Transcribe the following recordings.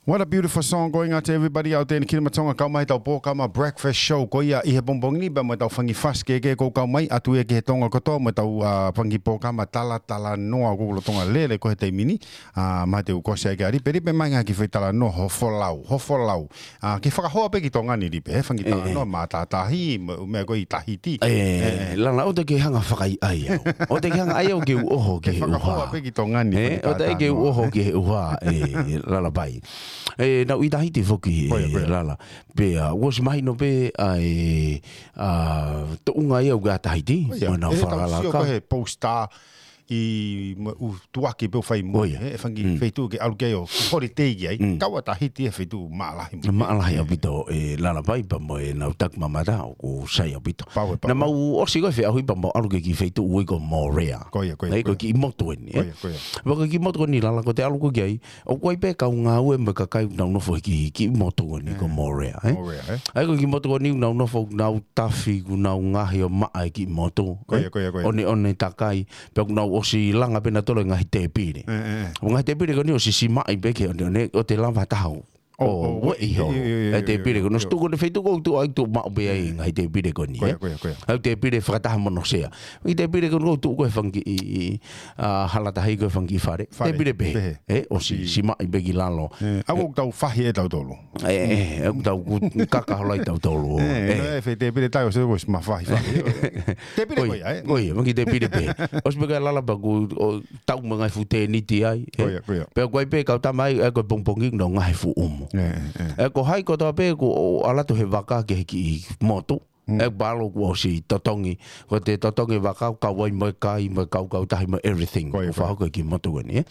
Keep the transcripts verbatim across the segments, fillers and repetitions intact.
What a beautiful song going out to everybody out there in the Kingdom of Tonga. Kau mai tau pō, kau mai breakfast show. Ko ia ʻi he pongipongi ni pea mo tau fanga fasi kehekehe ʻoku kau mai atu ia ki he Tonga kotoa mo tau, ah, fanga pō kau mai tala, talanoa ʻoku lolotonga lele ko ē he taimi ni. Ah, ma te u kosi ai ke ari, peri pe mai ngā ki fai talanoa ho folau, ho folau. Ah, ke fakahoa pē ki Tonga ni Lipe, he fanga talanoa mātātahi, mo, mo ko ē ʻi Tahiti. Eh, lana, ʻoua te ke hanga fakaʻaiʻai au. ʻOua te ke hanga ʻai au ke u ʻoho ki he ʻuha. Ke fakahoa pē ki Tonga ni, eh, ʻoua te ke u ʻoho ki he ʻuha, eh, Lalapai. Eh, naʻa ku ʻi Tahiti foki, eh, Lala. Pea, ʻosi mahino pē, ʻa e, ah, tuʻunga ia ʻoku ʻa Tahiti, mo nau fakalaka. Ko e he poster, ʻi mo, ʻū tuʻaki pē ʻoku fai mo, he, e fanga feituʻu ke ʻalu ki ai ʻo holiday ki ai. Kau ʻa Tahiti he feituʻu mālahi mo. Mālahi ʻaupito, eh, Lalapai pea mo e nau taki mamata ʻoku sai ʻaupito. Pau e pau. Naʻa mau ʻosi ko e feʻauhi pea mau ʻalu ki he kiʻi feituʻu ʻoku ʻi ai ko Moorea. Ko ia, ko ia, ko e kiʻi motu eni, eh. Ko ia, ko ia. Pea ko e kiʻi motu ko eni Lala ko e te ʻalu ko ē ki ai, ʻoku ʻi ai pē kau ngāue mo e kakai ʻoku nau nofo he kiʻi, kiʻi motu ko eni ko Moorea, eh. Moorea, eh. ʻA ia ko e kiʻi motu ko eni ʻoku nau nofo, ʻoku nau tafi, ʻoku nau ngaohi ʻo maʻa e kiʻi motu. Ko ia, ko ia, ko ia. ʻO ne, ʻo ne takai, pea ʻoku nau ʻosi langa pē nautolu e ngaahi tēpile. Eh, eh, eh. ʻO ngaahi tēpile ko eni ʻosi simaʻi pē ki he ʻoneʻone, ʻo te lava taha ʻo, ʻo, ʻo, ʻo, ʻo, ʻio, ʻio, ʻio, ʻio, e tēpile ko ē. Nō ʻio, ʻio, tuku ʻo ne feituʻu ʻoku tuʻu ai tuʻu maʻu pē ai e ngaahi tēpile ko eni, eh. Ko ia, ko ia, ko ia. ʻA e tēpile fakataha mo hono sea. ʻI he tēpile ko ē ʻoku tuʻu ko ē he fanga kiʻi, ah, hala tahi ko ē he fanga kiʻi fale. Fale. Tēpile pē. Pehē. Eh, ʻosi simaʻi pē ki lalo. Eh, ʻa ia ʻoku tau fahi ʻe tautolu. Eh, eh, ʻoku tau ku-, kaka holo ai tautolu. Eh, eh, no, e fai tēpile tai ʻosi, ʻosi ma fahi fahi. Tēpile ko ia, eh. Ko ia, mo e kiʻi tēpile pē. ʻOsi pē ka Lala pea ʻoku, ʻo, tau mo e ngaahi fuʻu tēniti ai, eh. Ko ia, ko ia. Pea ʻoku ʻi ai pē kau tama ai, eh, ko e pongipongi ʻoku nau ngaohi e fuʻu ʻumu. Eh, eh, eh. Eh, ko hai kotoa pē ʻoku ʻalu atu he vaka ki he kiʻi motu. Mm. Eh, palo kuo ʻosi totongi. Ko e te totongi vaka ʻoku kau ai mo e kai, mo e kau kautahi, mo e everything. Ko ia, ko ia. ʻOku fakahoko ʻi he kiʻi motu ko eni, eh.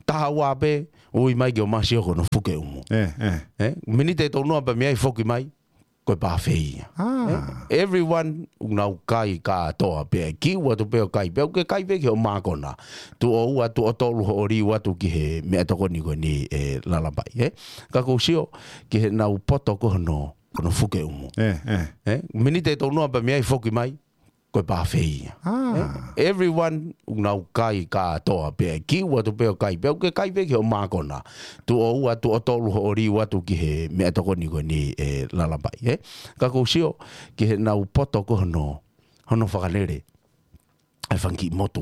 Taha ua pē, ui mai ke ʻomai ʻo sio ki hono fuke ʻumu. Eh, eh. Eh, miniti ʻe tolu noa pea mei ai foki mai, ko e buffet ia. Ah. Eh, everyone, ʻoku nau kai kātoa pē, kiʻi ua tu pē ʻo kai, pea ʻoku ke kai pē ki hoʻo mākona. Tuʻo ua, tuʻo tolu hoʻo liu atu ki he meʻatokoni ko eni, eh, Lalapai, eh. Ka ʻoku ou sio ki heʻenau poto ko ē hono, hono fuke ʻumu. Eh, eh. Eh, miniti ʻe tolu noa pea mei ai foki mai, ko e buffet ia. Ah. Eh, everyone, ʻoku nau kai kātoa pē, kiʻi ua tu pē ʻo kai, pea ʻoku ke kai pē ki hoʻo mākona. Tuʻo ua, tuʻo tolu hoʻo liu atu ki he meʻatokoni ko eni, eh, Lalapai, eh. Ka ʻoku ou sio ki heʻenau poto ko ē hono, hono fakalele e fanga kiʻi motu